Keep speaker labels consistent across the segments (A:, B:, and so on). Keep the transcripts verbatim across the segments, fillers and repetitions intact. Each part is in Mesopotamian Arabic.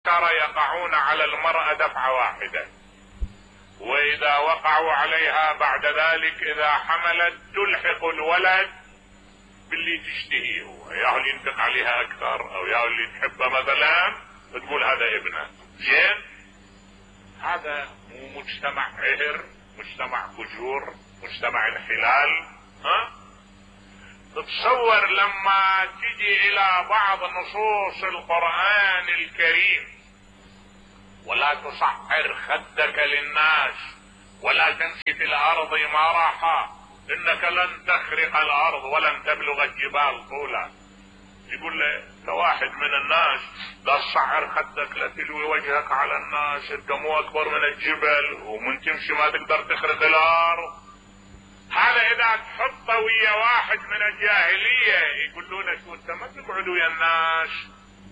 A: ترى يقعون على المرأة دفعة واحدة، واذا وقعوا عليها بعد ذلك اذا حملت تلحق الولد باللي تشتهيه، هو يا اللي ينفق عليها اكثر او يا اللي تحبه مثلا تقول هذا ابنه. زين، هذا مو مجتمع عهر، مجتمع فجور، مجتمع انحلال. ها تتصور لما تجي الى بعض نصوص القرآن الكريم ولا تصعر خدك للناس ولا تمشي في الارض مرحا انك لن تخرق الارض ولن تبلغ الجبال طولا، يقول له كواحد من الناس لا تصعر خدك لا تلوي وجهك على الناس، انت مو اكبر من الجبل ومن تمشي ما تقدر تخرق الارض. هذا اذا تحطه ويا واحد من الجاهلية يقولون له شو انت ما تقعد ويا الناس،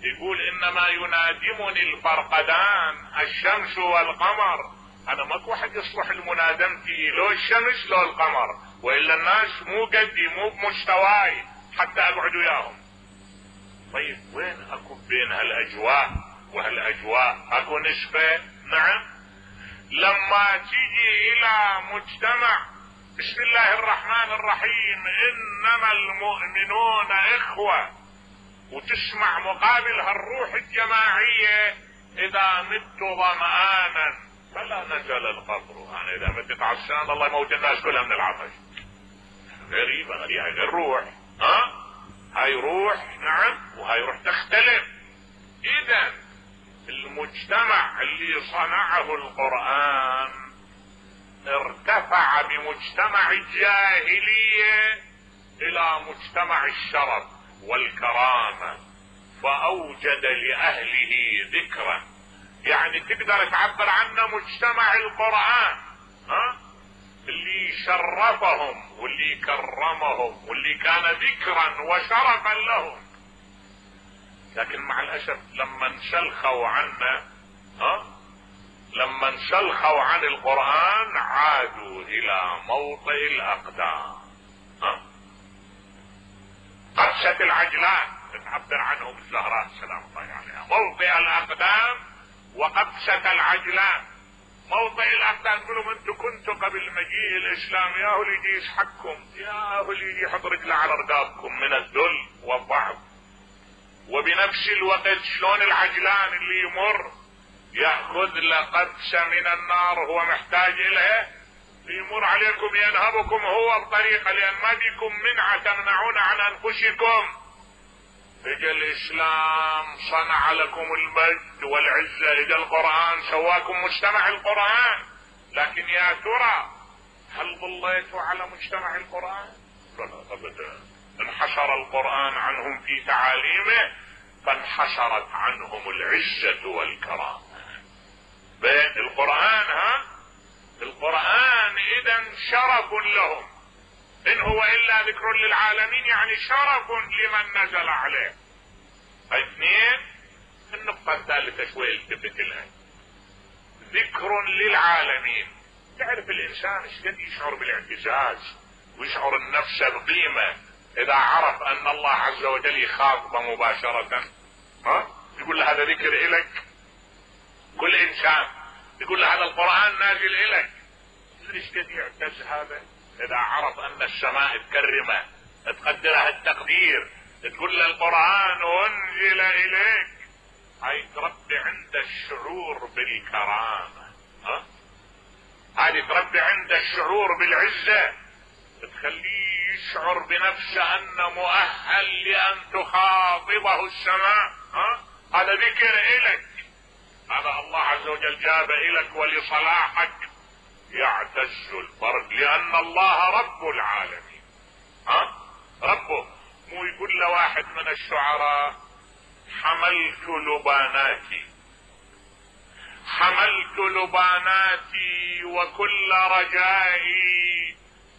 A: يقول انما ينادمني الفرقدان الشمس والقمر، انا ماكو واحد يصلح المنادمتي لو الشمس لو القمر، والا الناس مو قدي مو بمستواي حتى اقعد وياهم. طيب وين اكو بين هالاجواء وهالاجواء اكو نسبة؟ نعم. لما تيجي الى مجتمع بسم الله الرحمن الرحيم انما المؤمنون اخوة، وتسمع مقابل هالروح الجماعية اذا مت ظمآنا فلا نزل القبر، يعني اذا متت عطشان الله يموت الناس كلها من العطش. غريبة غريبة هاي الروح. ها هاي روح، نعم، وهاي روح تختلف. اذا المجتمع اللي صنعه القرآن ارتفع بمجتمع الجاهلية الى مجتمع الشرف والكرامة، فاوجد لاهله ذكرا، يعني تقدر تعبر عنه مجتمع القرآن. ها اللي شرفهم واللي كرمهم واللي كان ذكرا وشرفا لهم. لكن مع الاسف لما انسلخوا عنا، ها لما انسلخوا عن القرآن عادوا الى موطئ الاقدام. ها قدست العجلان تعبر عنهم الزهراء سلام الله عليها، موطئ الاقدام وقدست العجلان. موطئ الاقدام يقولوا انتم كنتوا قبل مجيء الاسلام يا هو اللي يجي يسحقكم، يا هو اللي يجي يحط رجله على رقابكم من الذل والضعف. وبنفس الوقت شلون العجلان اللي يمر يأخذ لقدسة من النار هو محتاج الها، يمر عليكم ينهبكم هو بطريقة، لان ما بيكم منعة تمنعون عن انفسكم. اجا الاسلام صنع لكم المجد والعزة، اجا القرآن سواكم مجتمع القرآن. لكن يا ترى هل ظليتوا على مجتمع القرآن؟ لا ابدا. انحشر القرآن عنهم في تعاليمه فانحشرت عنهم العزة والكرامة. بين القرآن، ها القرآن اذا شرف لهم، ان هو الا ذكر للعالمين، يعني شرف لمن نزل عليه. اثنين، النقطة الثالثة شوي التفت لها، ذكر للعالمين. تعرف الانسان ايش قد يشعر بالاعتزاز ويشعر النفس بقيمة اذا عرف ان الله عز وجل يخاطبه مباشرة. ها يقول له هذا ذكر الك. كل انسان يقول له هذا القرآن نازل الك. ايش قد يعتز هذا اذا عرف ان السماء تكرمه تقدرها التقدير، تقول له القرآن انزل اليك. هاي تربي عند الشعور بالكرامة. ها هذه تربي عند الشعور بالعزة، تخليه يشعر بنفسه انه مؤهل لان تخاطبه السماء. ها هذا ذكر الك، هذا الله عز وجل جاب الك ولصلاحك. يعتز الفرد لان الله رب العالمين. ها ربه. مو يقول له واحد من الشعراء حملت لباناتي حملت لباناتي وكل رجائي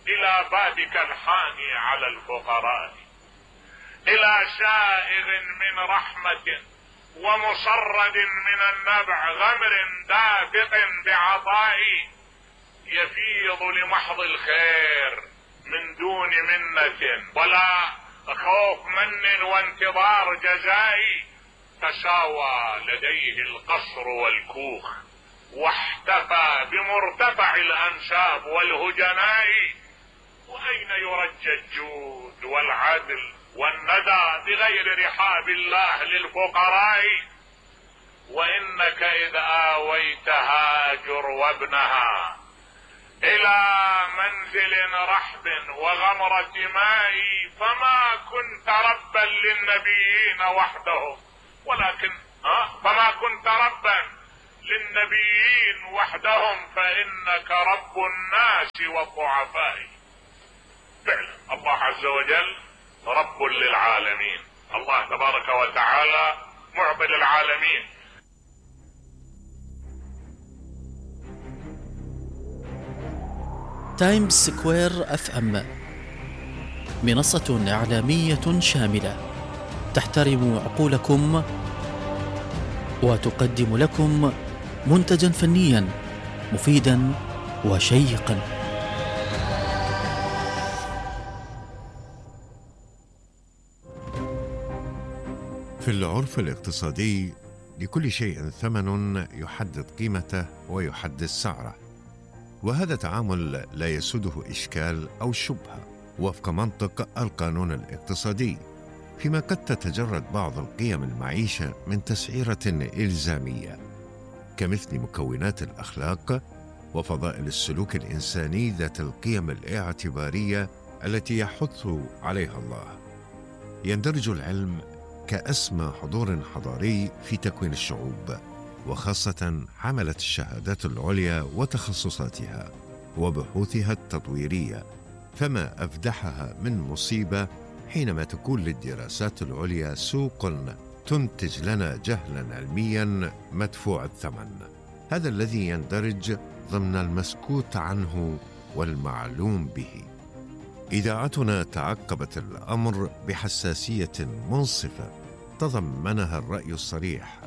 A: الى بابك الحاني على الفقراء، الى سائغ من رحمة ومصرد من النبع غمر دافق بعطائي، يفيض لمحض الخير من دون منة ولا خوف من وانتظار جزائي، تشاوى لديه القصر والكوخ، واحتفى بمرتفع الأنساب والهجناء، وأين يرجى الجود والعدل والندى بغير رحاب الله للفقراء؟ وإنك إذ آويت هاجر وابنها إلى منزل رحب وغمرة ماء، فما كنت ربا للنبيين وحدهم، ولكن ها فما كنت ربا للنبيين وحدهم، فإنك رب الناس والضعفاء. فعلا الله عز وجل رب للعالمين، الله تبارك وتعالى معبد العالمين.
B: تايمز سكوير اف ام، منصة إعلامية شاملة تحترم عقولكم وتقدم لكم منتجا فنيا مفيدا وشيقا.
C: في العرف الاقتصادي لكل شيء ثمن يحدد قيمته ويحدد سعره، وهذا تعامل لا يسوده إشكال أو شبهة وفق منطق القانون الاقتصادي، فيما قد تتجرد بعض القيم المعيشة من تسعيرة إلزامية، كمثل مكونات الأخلاق وفضائل السلوك الإنساني ذات القيم الاعتبارية التي يحث عليها الله. يندرج العلم كأسمى حضور حضاري في تكوين الشعوب، وخاصة حملة الشهادات العليا وتخصصاتها وبحوثها التطويرية، فما أفدحها من مصيبة حينما تكون للدراسات العليا سوق تنتج لنا جهلا علميا مدفوع الثمن، هذا الذي يندرج ضمن المسكوت عنه والمعلوم به. إذاعتنا تعقبت الأمر بحساسية منصفة تضمنها الرأي الصريح،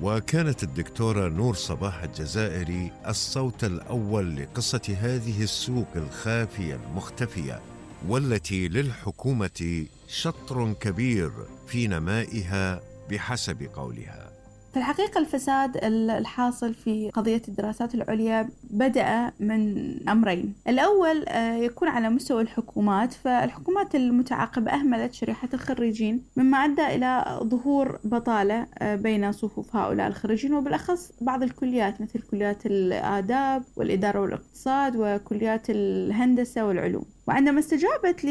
C: وكانت الدكتورة نور صباح الجزائري الصوت الأول لقصة هذه السوق الخافية المختفية، والتي للحكومة شطر كبير في نمائها بحسب قولها.
D: في الحقيقة الفساد الحاصل في قضية الدراسات العليا بدأ من أمرين. الأول يكون على مستوى الحكومات، فالحكومات المتعاقبة أهملت شريحة الخريجين، مما أدى إلى ظهور بطالة بين صفوف هؤلاء الخريجين، وبالأخص بعض الكليات مثل كليات الآداب والإدارة والاقتصاد وكليات الهندسة والعلوم. وعندما استجابت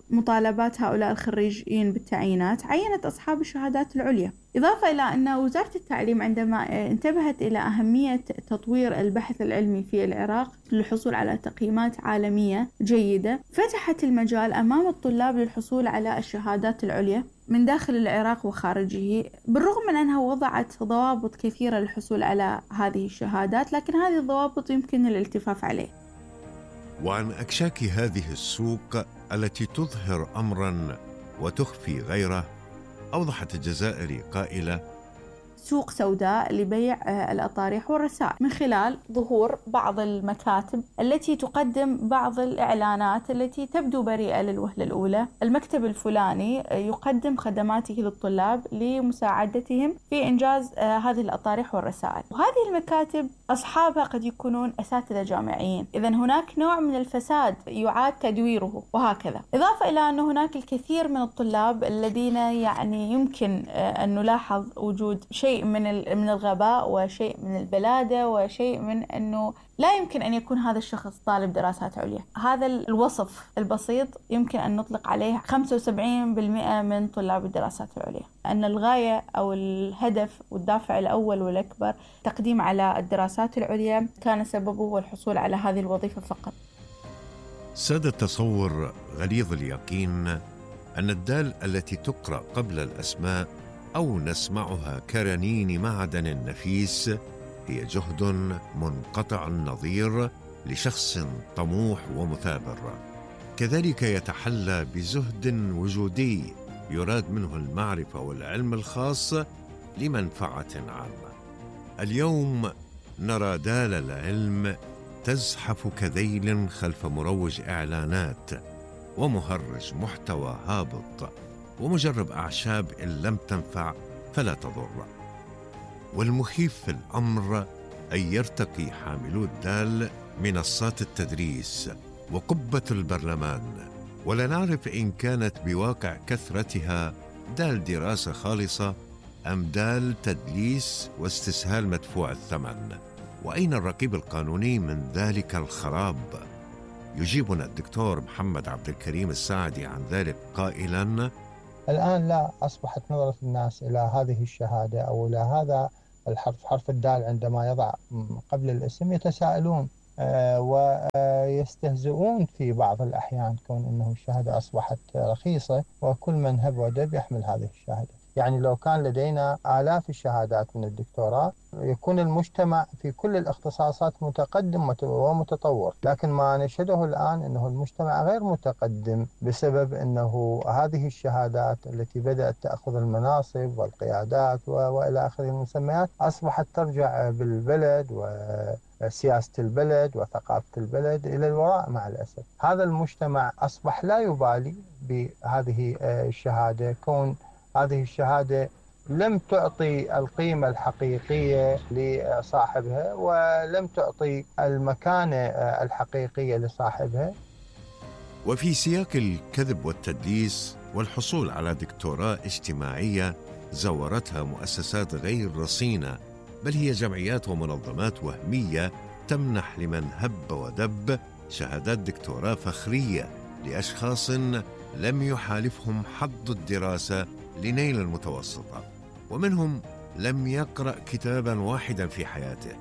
D: لمطالبات هؤلاء الخريجين بالتعيينات، عينت أصحاب الشهادات العليا، إضافة إلى أن وزارة التعليم عندما انتبهت إلى أهمية تطوير البحث العلمي في العراق للحصول على تقييمات عالمية جيدة، فتحت المجال أمام الطلاب للحصول على الشهادات العليا من داخل العراق وخارجه، بالرغم من أنها وضعت ضوابط كثيرة للحصول على هذه الشهادات، لكن هذه الضوابط يمكن الالتفاف عليه.
C: وعن أكشاك هذه السوق التي تظهر أمراً وتخفي غيره، أوضحت الجزائري قائلة:
D: سوق سوداء لبيع الأطارح والرسائل، من خلال ظهور بعض المكاتب التي تقدم بعض الإعلانات التي تبدو بريئة للوهلة الأولى. المكتب الفلاني يقدم خدماته للطلاب لمساعدتهم في إنجاز هذه الأطارح والرسائل، وهذه المكاتب أصحابها قد يكونون أساتذة جامعيين، إذن هناك نوع من الفساد يعاد تدويره، وهكذا. إضافة إلى أن هناك الكثير من الطلاب الذين يعني يمكن أن نلاحظ وجود شيء من من الغباء وشيء من البلادة وشيء من أنه لا يمكن أن يكون هذا الشخص طالب دراسات عليا. هذا الوصف البسيط يمكن أن نطلق عليه خمسة وسبعين بالمئة من طلاب الدراسات العليا، أن الغاية أو الهدف والدافع الأول والأكبر تقديم على الدراسات العليا كان سببه هو الحصول على هذه الوظيفة فقط.
C: ساد التصور غليظ اليقين أن الدال التي تقرأ قبل الأسماء أو نسمعها كرنين معدن نفيس هي جهد منقطع النظير لشخص طموح ومثابر، كذلك يتحلى بزهد وجودي يراد منه المعرفة والعلم الخاص لمنفعة عامة. اليوم نرى دال العلم تزحف كذيل خلف مروج إعلانات ومهرج محتوى هابط ومجرب أعشاب إن لم تنفع فلا تضر. والمخيف في الأمر أن يرتقي حاملو الدال منصات التدريس وقبة البرلمان، ولا نعرف إن كانت بواقع كثرتها دال دراسة خالصة أم دال تدليس واستسهال مدفوع الثمن. وأين الرقيب القانوني من ذلك الخراب؟ يجيبنا الدكتور محمد عبد الكريم الساعدي عن ذلك قائلا:
E: الآن لا أصبحت نظرة الناس إلى هذه الشهادة أو إلى هذا الحرف، حرف الدال، عندما يضع قبل الاسم يتساءلون ويستهزئون في بعض الأحيان، كون أنه الشهادة أصبحت رخيصة وكل من هب ودب يحمل هذه الشهادة. يعني لو كان لدينا آلاف الشهادات من الدكتوراه يكون المجتمع في كل الاختصاصات متقدم ومتطور، لكن ما نشهده الآن أنه المجتمع غير متقدم بسبب أنه هذه الشهادات التي بدأت تأخذ المناصب والقيادات وإلى آخره المسميات أصبحت ترجع بالبلد وسياسة البلد وثقافة البلد إلى الوراء مع الأسف. هذا المجتمع أصبح لا يبالي بهذه الشهادة، كون هذه الشهادة لم تعطي القيمة الحقيقية لصاحبها ولم تعطي المكانة الحقيقية لصاحبها.
C: وفي سياق الكذب والتدليس والحصول على دكتوراه اجتماعية زورتها مؤسسات غير رصينة، بل هي جمعيات ومنظمات وهمية تمنح لمن هب ودب شهادات دكتوراه فخرية لأشخاص لم يحالفهم حظ الدراسة لنيل المتوسطة، ومنهم لم يقرأ كتابا واحدا في حياته.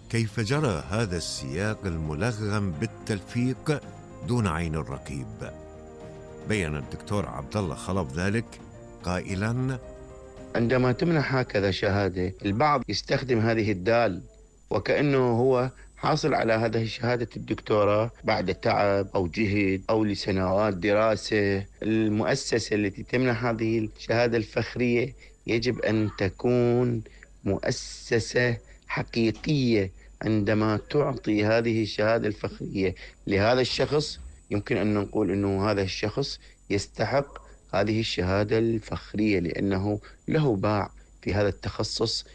C: كيف جرى هذا السياق الملغم بالتلفيق دون عين الرقيب؟ بيّن الدكتور عبد الله خلف ذلك قائلا:
F: عندما تمنح هكذا شهادة البعض يستخدم هذه الدال وكأنه هو حاصل على هذه شهادة الدكتوراه بعد تعب أو جهد أو لسنوات دراسة. المؤسسة التي تمنح هذه الشهادة الفخرية يجب أن تكون مؤسسة حقيقية. عندما تعطي هذه الشهادة الفخرية لهذا الشخص يمكن أن نقول أنه هذا الشخص يستحق هذه الشهادة الفخرية لأنه له باع في هذا التخصص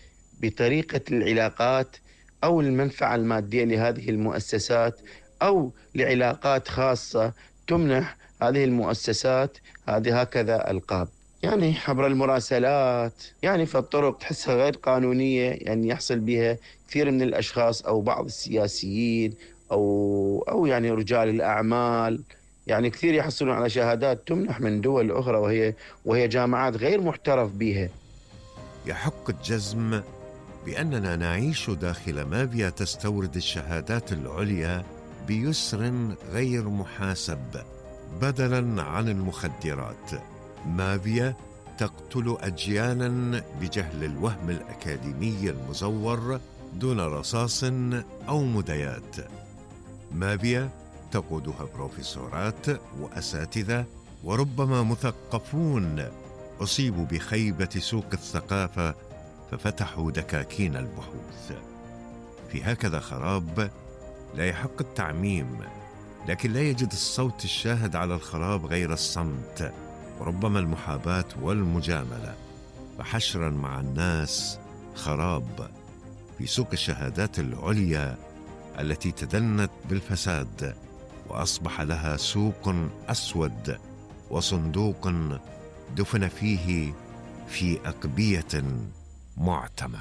F: بطريقة العلاقات أو المنفعة المادية لهذه المؤسسات أو لعلاقات خاصة تمنح هذه المؤسسات هذه هكذا ألقاب، يعني عبر المراسلات، يعني في الطرق تحسها غير قانونية، يعني يحصل بها كثير من الأشخاص أو بعض السياسيين أو أو يعني رجال الأعمال، يعني كثير يحصلون على شهادات تمنح من دول أخرى وهي وهي جامعات غير محترف بها.
C: يحق الجزم بأننا نعيش داخل مافيا تستورد الشهادات العليا بيسر غير محاسب بدلاً عن المخدرات. مافيا تقتل أجيالاً بجهل الوهم الأكاديمي المزور دون رصاص أو مديات. مافيا تقودها بروفيسورات وأساتذة وربما مثقفون أصيبوا بخيبة سوق الثقافة ففتحوا دكاكين البحوث. في هكذا خراب لا يحق التعميم، لكن لا يجد الصوت الشاهد على الخراب غير الصمت وربما المحاباة والمجاملة، فحشرا مع الناس خراب في سوق الشهادات العليا التي تدنت بالفساد وأصبح لها سوق أسود وصندوق دفن فيه في أقبية معتمة.